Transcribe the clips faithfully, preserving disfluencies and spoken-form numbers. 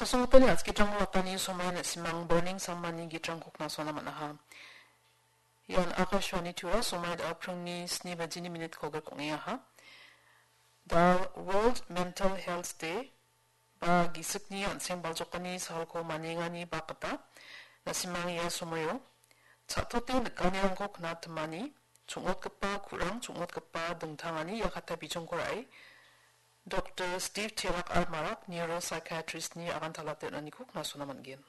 Kasonggipani askitrango watani somai na·simang burning samani gitrangko knasona man·aha. Ian Akashvani Tura somai da·a pringni sni bajini minit kolgrep ong·engaha. The World Mental Health Day ba gisikni an·seng baljokani salko maniengani bak gita na·simang ia somoio cha·tote nikanirangko knatimani chongmotgipa ku·rang chongmotgipa dingtangani ia kata bijongko ra·e Doktor Steve Terak R. Marak neuropsychiatrist-ni agantalate on·aniko knasona man·gen.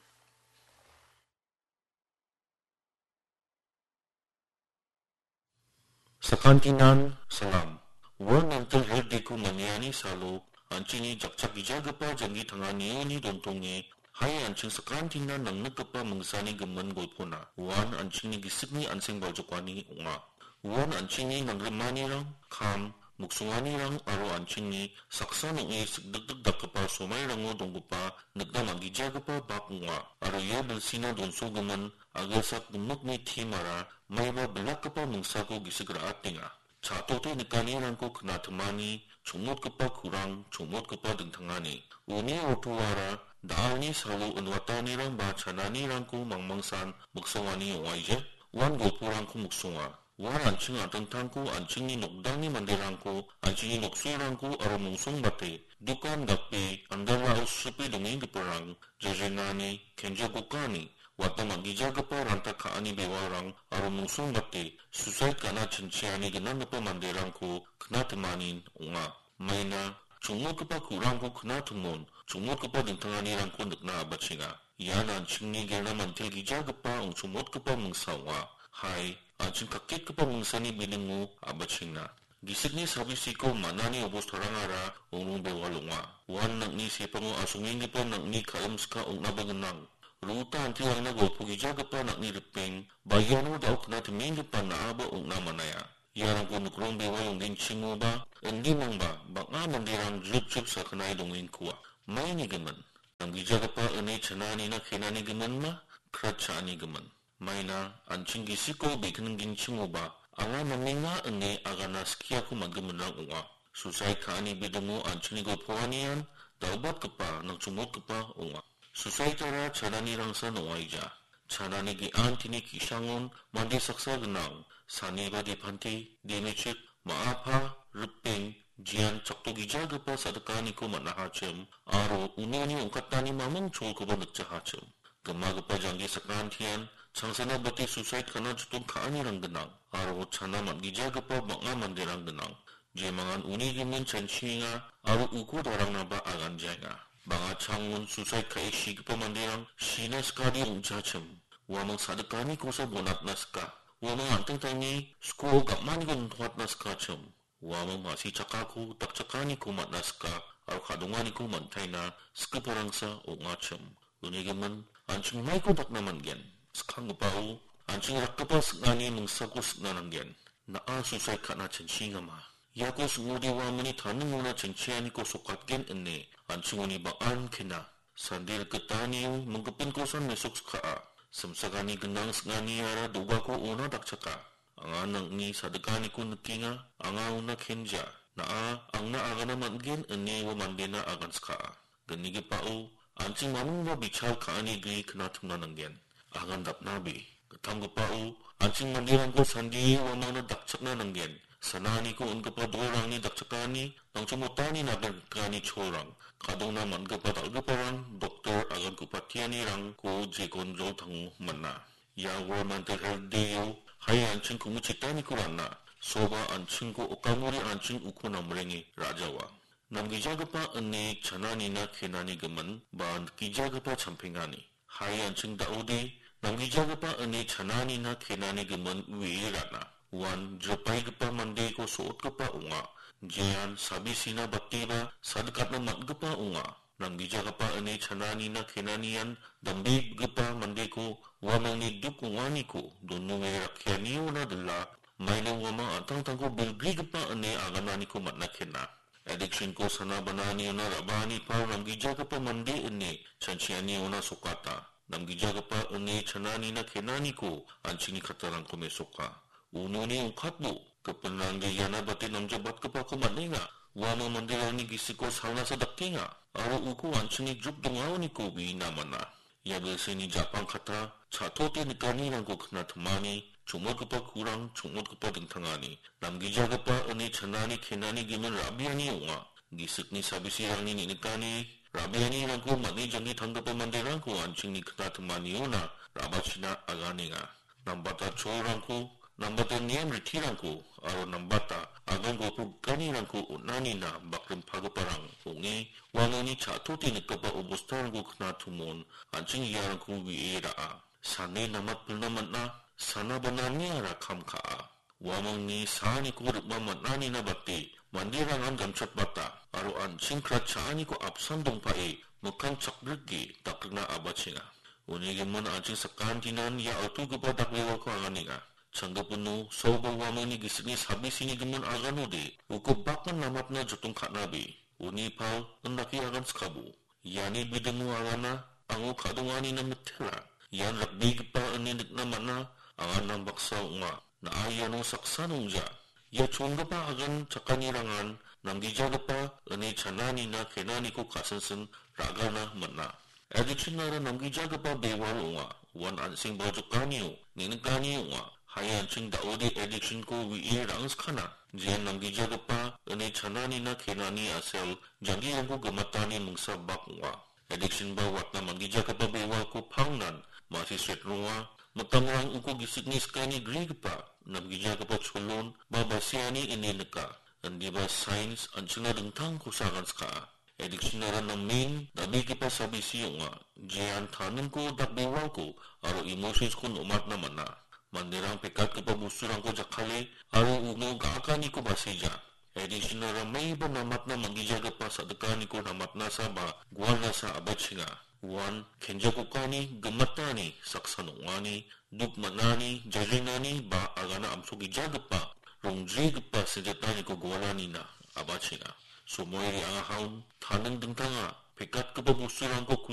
Sakantinan salam. World Mental Health Day-ko maniani salo an·chingni jakchakgijagipa janggi tanganioni dontonge, hai an·ching sakantinan nangnikgipa mingsani gimin golpona uan an·chingni gisikni an·seng baljokani ong·a. Uan an·chingni nangrimanirang, kam, miksonganirang aro an·chingni saksa nong·e sikdikdik dakgipa somairango donggipa nikna man·gijagipa bak ong·a. Aro ia bilsina donsogimin a·gilsak gimikni timara maiba bilakgipa mingsako gisik ra·atenga. Cha·tote nikanirangko knatimani, chongmotgipa ku·rang, chongmotgipa dingtangani. Uni ortoara da·alni salo inwatanirang ba chananirangko mangmangsan miksongani ong·aija. Uan golporangko miksonga. Uan an·ching an·tangtangko, an·chingni nokdangni manderangko, an·chingni noksoirangko aro mungsongbate dokan gape andalao sipe dongenggiparang, jejenani, kenjagokani, wata man·gijagipa ranta ka·ani bewarang aro mungsongbate susaid ka·na chinchiani gnanggipa manderangko knatimanin ong·a. Maina chongmotgipa ku·rangko knatimon, chongmotgipa dingtanganirangko nikna a·bachenga. Ian an·chingni gelna mantel gijagipa ong·chongmotgipa mingsa ong·a. Hai, an·ching kaketgipa mingsani bilingo a·bachenga. Gisikni sabisiko man·ani obostarangara ong·rong bewal ong·a. Uan nang·ni sepango asongenggipa nang·ni ka·imska ong·naba gnang. Ro·ota antirangna golpogijagipa nang·ni ripeng, ba iano da·o knatimenggipa na·aba ong·na man·aia. Iarangko nikrong bewal ong·genchimoba, indimangba bang·a manderang jrip jrip sakgnae dongengkua. Maini gimin, namgijagipa ine chananina kenani giminma, krat cha·ani gimin. Maina an·ching gisiko be·kning genchimoba, anga namenga ine agana skiako man·giminrang ong·a. Susaid ka·ani bidimo an·chingni golpoanian da·obatgipa, nangchongmotgipa ong·a. Susaidara chananirangsan ong·aija. Chanani ge·antini ki·sangon mande saksa gnang, saniba depante, demechik, ma·apa, ripeng, jian chaktogijagipa sa·dikaniko man·ahachim, aro uni uni ong·katani maming cholkoba nikjahachim. Gimagipa janggi sakantian changsana bate susaid ka·na jotong ka·anirang gnang, aro chana man·gijagipa bang·a manderang gnang. Jemangan uni gimin chanchienga aro uko darangnaba aganjaenga. Bang·a changon susaid ka·e sigipa manderang sina skade ong·jachim. Uamang sa·dikanikosa bonatna sika. Uamang an·tangtangni skuo gam·aniko nitoatna sikachim. Uamang ma·si chakako dakchakaniko man·na sika aro ka·donganiko man·taina sigiparangsa ong·achim. Uni gimin, an·ching maiko dakna man·gen? Skanggipao, an·ching rakgipa sing·ani mingsako sing·na nanggen. Na·a susaid ka·na chanchiengama? Iako sing·ode uamangni taningona chanchianiko sokatgen ine an·chingoni bang·an kena. Sande rikgitanio minggipinkosan mesok skaa. Simsagani gnang sing·aniara dogako ona dakchaka. Anga nang·ni sa·dikaniko nikenga, anga ona kenja. Na·a angna agana man·gen ine ua mandena agan skaa. Gnigipao, an·ching mamingba bichal ka·ani gue knatimna nanggen. Agan dapnabe. Gittamgipao, an·ching manderangko sandie uamangna dakchakna nanggen. Sananiko on·gipa dolrangni dakchakani, nangchongmotani nagrikani cholrang, ka·dongna man·gipa dal·giparang, doktor aganko patianirangko jegon joltango man·a. Ia World Mental Health Day-o, hai an·ching ku·muchitaniko ra·na, soba an·chingko okamori an·ching uko namrenge ra·jawa. Namgijagipa ine chananina kenani gimin ba gijagipa champengani. Hai an·ching da·ode, namgijagipa ine chananina kenani gimin uee ra·na. Uan jripaigipa mandeko so·otgipa ong·a. Jean sabisina bateba sadikatna man·gipa ong·a. Namgijagipa ine chananina kenanian dambegipa mandeko uamangni duk ong·aniko dononge rakkianiona dila, maina uamang an·tangtangko bilbrigipa ine agananiko man·a kena. Addiction-ko sana bananiona ra·baani pal namgijagipa mande ine chanchianiona sokata. Namgijagipa ine chananina kenaniko an·chingni kattarangko mesoka. Unoni ongkatbo, gipinrangde iana bate namjabatgipako man·enga. Uamang manderangni gisiko salnasa dakenga, aro uko an·chingni juk dongaoniko uina man·a. Ia bilsini ja·pang katra, cha·tote nikanirangko knatimani, chongmotgipa kurang, chongmotgipa dingtangani, namgijagipa ine chanani kenani gimin ra·biani ong·a. Gisikni sabisirangni neng·nikani, ra·bianirangko man·e janggi tanggipa manderangko an·chingni knatimaniona ra·bachina aganenga. Nambata cholrangko, nambata niam ritirangko, aro nambata agango pukganirangko on·anina bakrimpagiparang ong·e, uamangni cha·tote nikgipa obostarangko knatumon, an·ching iarangko we·e ra·a. Sane namatpilna man·a, sana bananiara kam ka·a. Uamangni saaniko rikma man·anina bate, manderangan gamchatbata, aro an·ching krat cha·aniko apsan dongpae, mikkang chakbrike dakrikna abachenga. Uni gimin an·ching sakantinan ia altugipa dakbewako aganenga. Changgipino, soba uamangni gisikni sabisini gimin aganode, uko bakman namatna jotong ka·nabe, uni pal, indake agan skabo. Iani bidingo agana, ango ka·donganina mitela. Ian rakbegipa ine nikna man·a, aganrang baksa ong·a. Na·a iano saksa nongja. Ia chongipa agan chakanirangan namgijagipa ine chananina kenaniko ka·sinsin ra·gana man·a. Addiction-ara namgijagipa bewal ong·a. Uan an·seng baljokanio, neng·nikani ong·a. Hai an·ching da·ode addiction-ko we·e ra·angskana. Jean namgijagipa ine chananina kenani a·sel janggirangko gimatani mingsa bak ong·a. Addiction ba watna manggijagipa bewalko pangnan masi sret ronga. Mitamrang uko gisikni skani grigipa, namgijagipa cholon ba basiani ine nika. Indiba science an·chingna dingtangkosa aganska. Addiction-ara namen dal·begipa sabisi ong·a. Jean taningko, dakbewalko aro emotions-ko nomatna man·a. Manderang pekatgipa bosturangko jakkale aro uno ga·akaniko baseja. Addiction-ara maiba namatna manggijagipa sa·dikaniko namatnasa ba gualnasa abachenga. Uan kenjakokani, gimatani, saksan ong·ani, duk man·ani, jajrinani ba agana amsogijagipa, rongbrigipa senjataniko gualanina abachenga. Somoi re·angahaon, taning dingtanga, pekatgipa bosturangko